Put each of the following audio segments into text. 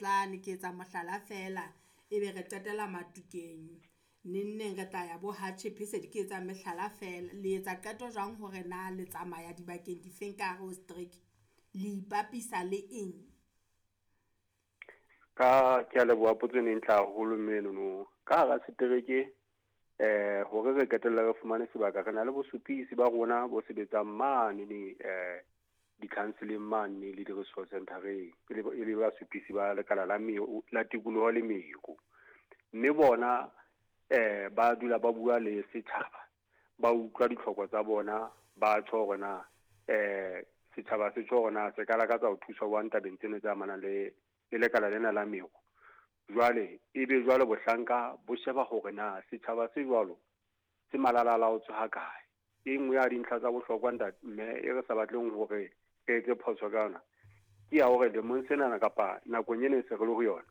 Tlane ke etsa mohlala feela, ebe re qetela Matukeng, neng neng re tla ya bo Ha Tjhephe se ke etsa mehlala feela. Le etsa qeto jwang hore na le tsamaya dibakeng difeng ka hare ho setereke, le ipapisa le eng? Ka ke a leboha potso ena e ntle haholo mme enono. Ka hara setereke hore re qetelle re fumane sebaka, re na le bosupisi ba rona bo sebetsang mane ne di-council-eng mane le di-resource center-eng, e le basupisi ba lekala la la tikoloho le meru. Mme bona ba dula ba bua le setjhaba, ba utlwa ditlhoko tsa bona, ba tjho hore na setjhaba se tjho hore na se ka lakatsa ho thuswa jwang tabeng tsena tse amanang le lekala lena la meru. Jwale ebe jwale bohlanka bo sheba hore na setjhaba se jwalo se malalalaotswe ha kae. E nngwe ya dintlha tsa bohlokwa ntate mme e re sa batleng hore re etse phoso ka yona, ke ya hore lemong senana kapa nakong ena e se re le ho yona,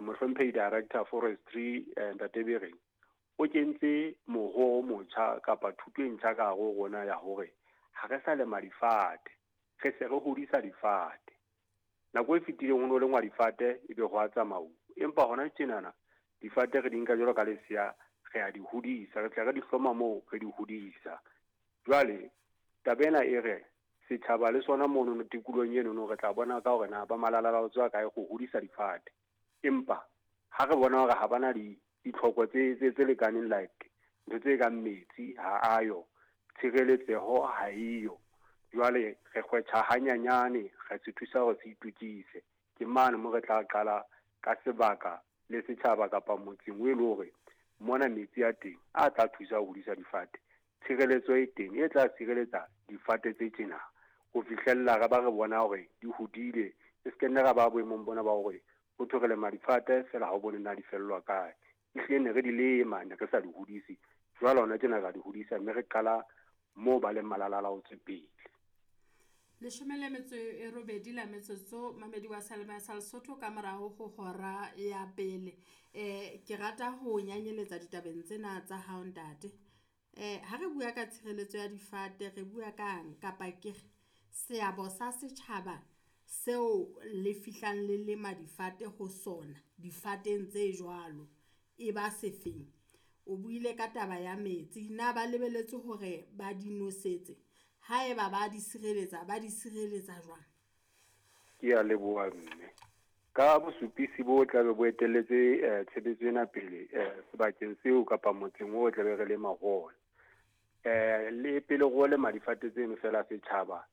mohlomphehi Director Forestry, Ntate Bereng o kentse moho o motjha kapa thuto e ntjha ka hare ho rona ya hore ha re sa lema difate, re se re hodisa difate. Nako e fetileng ho no lengwa difate ebe ho a tsamauwa, empa hona tjenana difate re di nka jwalo ka lesea, re a di hodisa, re tla re di hloma moo re di hodisa. Jwale taba ena e re setjhaba le sona mono tikolohong enono re tla bona ka hore na ba malalalaotswe a kae ho hodisa difate. Empa ha re bona hore ha bana ditlhoko tse lekaneng, like ntho tse kang metsi ha ayo, tshireletseho ha eyo, jwale re kgwetjha hanyanyane, re se thusa hore se itokise. Ke mane mo re tla qala ka sebaka le setjhaba kapa motseng o e le hore mona metsi a teng a tla thusa ho hodisa difate, tshireletso e teng e tla sireletsa difate tse tjena ho fihlella re ba re bona hore di hodile. E se ke nne ra ba boemong bona ba hore ho thwe re lema difate fela ha o bone na di fellwa kae. Ehlile ne re di lema, ne re sa di hodise. Jwale hona tjena ra di hodisa, mme re qala moo ba leng malalalaotswe pele. 18 la metsotso, mamedi wa Salema sa Lesotho ka morao ho hora ya pele. Ke rata ho nyanyeletsa ditabeng tsena tsa hao ntate. Ha re bua ka tshireletso ya difate, re bua kang kapa ke re seabo sa setjhaba seo le fihlang le lema difate ho sona, difateng tse jwalo, e ba sefeng? O buile ka taba ya metsi, na ba lebelletse hore ba di nosetse? Haeba ba di sireletsa, ba di sireletsa jwang? Ke a leboha mme. Ka bosupisi bo tlabe bo etelletse tshebetso ena pele sebakeng seo kapa motseng o tlabe re lema ho ona. Le pele ro lema difate tseno fela, setjhaba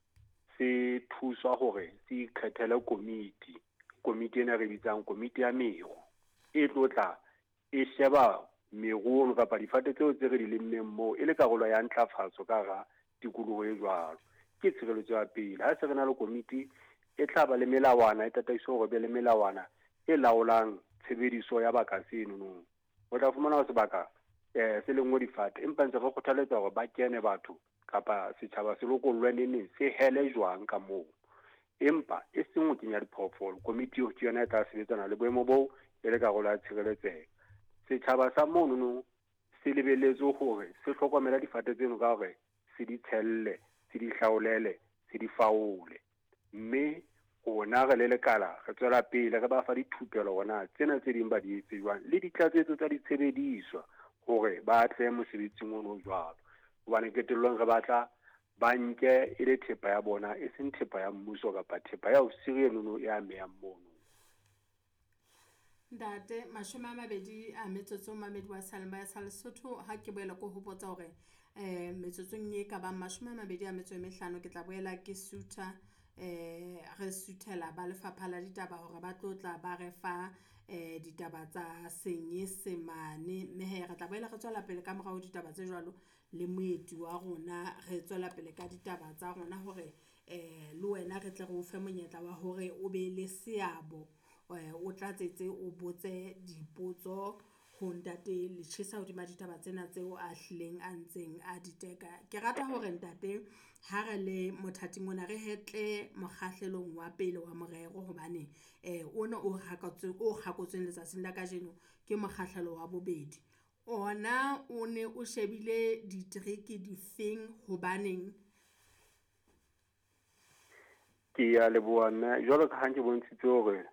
se thuswa hore se ikgethele komiti. Komiti ena re bitsang komiti ya meru, e tlo tla e sheba meru kapa difate tseo tse re di lemmeng moo e le karolo ya ntlafatso ka hara tikoloho e jwalo. Ke tshireletso ya pele. Ha se re na le komiti e tla ba le melawana, e tataiso hore be le melawana e laolang tshebediso ya baka seno. O tla fumana hore sebaka se lengwe difate, empa ntse re kgothaletsa hore ba kene batho kapa setjhaba se lokollwe neneng se hele jwang ka moo, empa e seng ho kenya diphoofolo. Komiti eo ke yona e tla sebetsana le boemo boo e le karolo ya tshireletseho. Setjhaba sa monono se lebelletswe hore se hlokomele difate tseno ka hore se di tshelle, se di hlaolele, se di faole. Mme rona re le lekala re tswela pele re ba fa dithupelo hore na tsena tse ding ba di etse jwang, le ditlatsetso tsa ditshebediswa hore ba atlehe mosebetsing ono jwalo. Hobane qetellong re batla ba nke e le thepa ya bona, e seng thepa ya mmuso kapa thepa ya ofisiri enono e amehang mono. Ntate, 20 a metsotso, mamedi wa Salema sa Lesotho. Ha ke boela ko hopotsa hore metsotsong e ka bang 25 ke tla boela ke sutha, re suthela ba lefapha la ditaba hore ba tlo tla ba re fa ditaba tsa Senyesemane. Mme hee re tla boela re tswela pele ka morao ditaba tse jwalo le moeti wa rona, re tswela pele ka ditaba tsa rona hore le wena re tle re o fe monyetla wa hore o be le seabo, o tlatsetse, o botse dipotso ho ntate Letjhesa hodima ditaba tsena tseo a hlileng a ntseng a di teka. Ke rata hore ntate ha re le mothating ona re hetle mokgahlelong wa pele wa morero hobane ona o kgakotsweng letsatsing la kajeno ke mokgahlelo wa bobedi. Ona o ne o shebile ditereke difeng, hobaneng? Ke a leboha mme, jwalo ka ha ke bontshitse hore